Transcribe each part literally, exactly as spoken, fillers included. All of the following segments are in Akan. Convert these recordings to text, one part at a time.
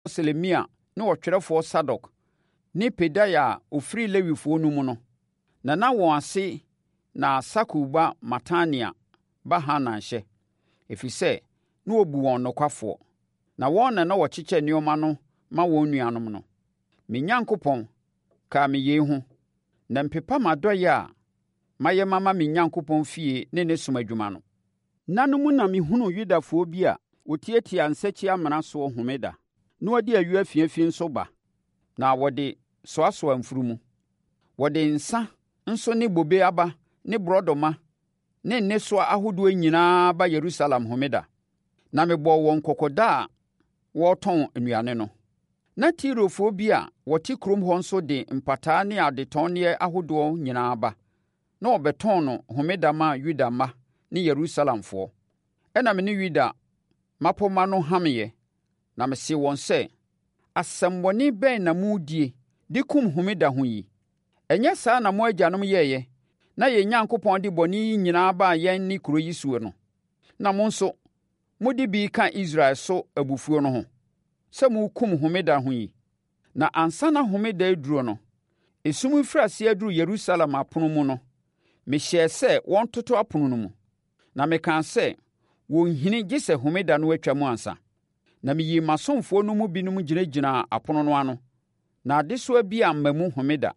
Selemia ne ɔtwerɛfoɔ Sadok ne Pedaia a ɔfiri Lewifoɔ no mu no, na na wɔn ase na Sakur ba Matania ba Hanan hyɛ, ɛfiri sɛ, na wɔbu wɔn nokwafoɔ. Na wɔn na na wɔkyekyɛ nneɛma no ma wɔn nuanom no. Me Onyankopɔn, kae me yei ho, na mpepa m'adɔeɛ a mayɛ mama me Onyankopɔn fie ne ne som adwuma no. Nna no mu na mehunuu Yudafoɔ bi a wɔtiatia nsakyi-amena soɔ homeda, na wɔde ayuo afiafi nso ba, na wɔde soasoa mfunumu. Wɔde nsã nso ne bobe aba ne borɔdɔma ne nnesoa ahodoɔ nyinaa ba Yerusalem homeda. Na mebɔɔ wɔn kɔkɔ da a wɔretɔn nnuane no. Na Tirofoɔ bi a wɔte kurom hɔ nso de mpataa ne adetɔnneɛ ahodoɔ nyinaa ba, na wɔbɛtɔn no homeda ma Yuda mma ne Yerusalemfoɔ. Ɛnna me ne Yuda mmapɔmma no hameeɛ, na mesee wɔn sɛ, “Asɛmmɔne bɛn na moredie de kum homeda ho yi? Ɛnyɛ saa na mo agyanom yɛeɛ, na yɛn Onyankopɔn de bɔne yi nyinaa baa yɛn ne kuro yi soɔ no? Na mo nso, mode bi reka Israel so abufuo no ho, sɛ morekum homeda ho yi.” Na ansa na homeda reduro no, esum refiri aseɛ aduru Yerusalem apono mu no, mehyɛɛ sɛ wɔntoto apono no mu. Na mekaa sɛ wɔnnhini gye sɛ homeda no atwam ansa. Na meyii m'asomfoɔ no mu binom gyinagyinaa apono no ano, na adesoa bi amma mu homeda.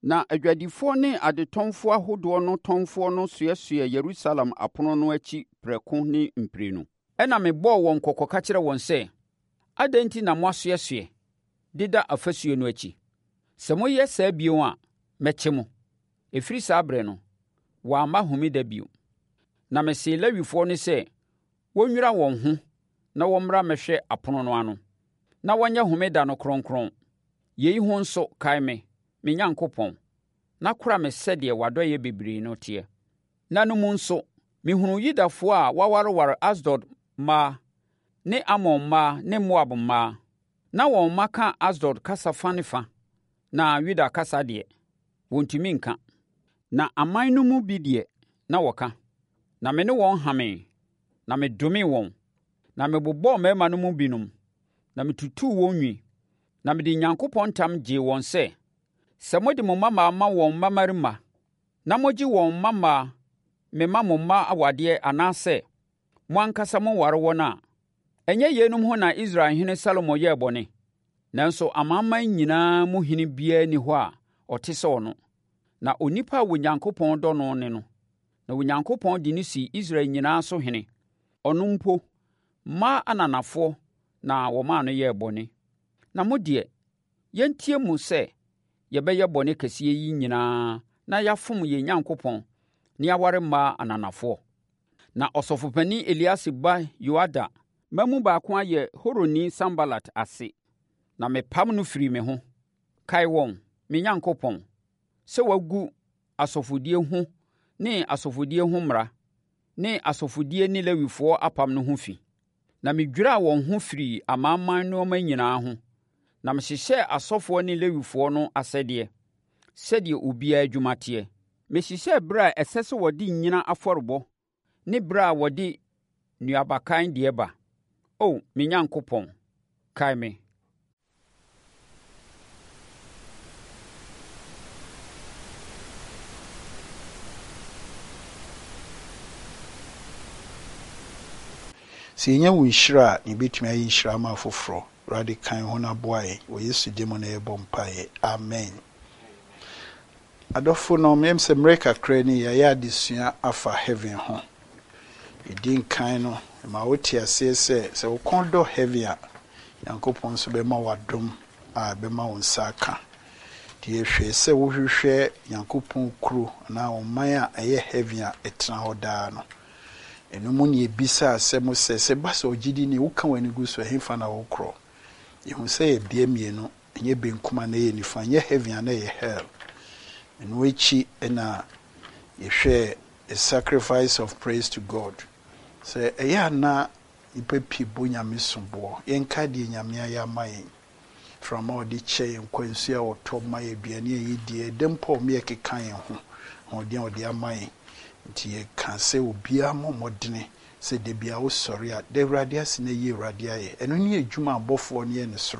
Na adwadifoɔ ne adetɔnfoɔ ahodoɔ no tɔnfoɔ no soɛsoɛɛ Yerusalem apono no akyi prɛko ne mprenu. Ɛnna mebɔɔ wɔn kɔkɔ ka kyerɛɛ wɔn sɛ, “Adɛn enti na moasoɛsoɛ, deda afasuo no akyi? Sɛ moyɛ saa bio a, mɛkye mo.” Ɛfiri saa ɛberɛ no, wɔamma homeda bio. Na mesee Lewifoɔ no sɛ wɔnnwira wɔn ho na wɔmmra mmɛhwɛ apono no ano, na wɔnyɛ homeda no kronkron. Yei ho nso, kae me, me Onyankopɔn, na kora me sɛdeɛ w'adɔeɛ bebree no teɛ. Nna no mu nso, mehunuu Yudafoɔ a wɔawareware Asdod mmaa ne Amon mmaa ne Moab mmaa. Na wɔn mma ka Asdod kasa fa ne fa, na Yuda kasa deɛ, wɔntumi nka. Na aman no mu bi deɛ, na wɔka. Na me ne wɔn hamee, na medomee wɔn. Na mebobɔɔ mmarima no mu binom, na metutuu wɔn nwi. Na mede Onyankopɔn ntam gyee wɔn sɛ, sɛ mode mo mmammaa ma wɔn mmammarima, na mogye wɔn mmammaa mema mo mma awadeɛ anaasɛ mo ankasa moware wɔn a, ɛnyɛ yeinom ho na Israelhene Salomo yɛɛ bɔne? Nanso amanaman nyinaa mu hene biara nni hɔ a ɔte sɛ ɔno. Na onipa a Onyankopɔn dɔ no ne no. Na Onyankopɔn de no sii Israel nyinaa so hene. Ɔno mpo, mmaa ananafoɔ na wɔmaa no yɛɛ bɔne. Na mo deɛ, yɛntie mo sɛ yɛbɛyɛ bɔne kɛseɛ yi nyinaa na yɛafom yɛn Onyankopɔn na yɛaware mmaa ananafoɔ. Na ɔsɔfopanin Eliasib ba Yoiada mma mu baako ayɛ Horonni Sanbalat ase, na mepam no firii me ho. Kae wɔn, me Onyankopɔn, sɛ wɔagu asɔfodie ho ne asɔfodie ho mmara ne asɔfodie ne Lewifoɔ apam no ho fi. Na medwiraa wɔn ho firii amanaman nneɛma nyinaa ho, na mehyehyɛɛ asɔfoɔ ne Lewifoɔ no asɛdeɛ, sɛdeɛ obiara adwuma teɛ. Mehyehyɛɛ berɛ a ɛsɛ sɛ wɔde nnyina afɔrebɔ ne berɛ a wɔde nnuabakan deɛ ba. O me Nyankopɔn, kae me. Sɛ yɛnya wo nhyira a, na yɛbɛtumi ayɛ nhyira ama afoforɔ. Awurade kan ho na boa yɛn. Wɔ Yesu din mu na yɛbɔ mpaeɛ. Amen. Adɔfo no, meyam sɛ mmerɛ kakra ni yɛayɛ adesua afa heaven ho. Yɛdi nkan no, ma wote aseɛ sɛ sɛ wo kɔn dɔ heaven a, Nyankopɔn nso bɛma wo adom a ɛbɛma wo nsa aka. Nti yɛhwɛ sɛ wohwehwɛ Nyankopɔn kuro anaa ɔman a ɛyɛ heaven a ɛtena hɔ daa no. Ɛno mu ne yɛbisa asɛm sɛ sɛ ba sɛ ɔgyedi ni woka w'ani gu so ɛhefa na wokorɔ. Yɛhu sɛ yɛ bea mmienu, ɛnyɛ benkum a na ɛyɛ nifa, ɛnyɛ heaven a na ɛyɛ hell. Ɛno akyi ɛna yɛhwɛ a sacrifice of praise to God. Sɛ ɛyɛ ana nipa pii bɔ Nyame soboɔ, yɛnka deɛ Nyame ayɛ ama yɛn. Mframa a ɔde kyɛ yɛn, nkwansuo a ɔtɔ ma yɛn, aduane a yɛdi, ɛdɛ mpo a ɔma yɛkeka yɛn ho, ahoɔden a ɔde ama yɛn. Nti yɛka sɛ obiara mmɔ mmɔdene sɛ da biara wosɔre a, da Awurade ase na yi Awurade ayɛ. Ɛno ne adwuma a abɔfoɔ no yɛ ne soro.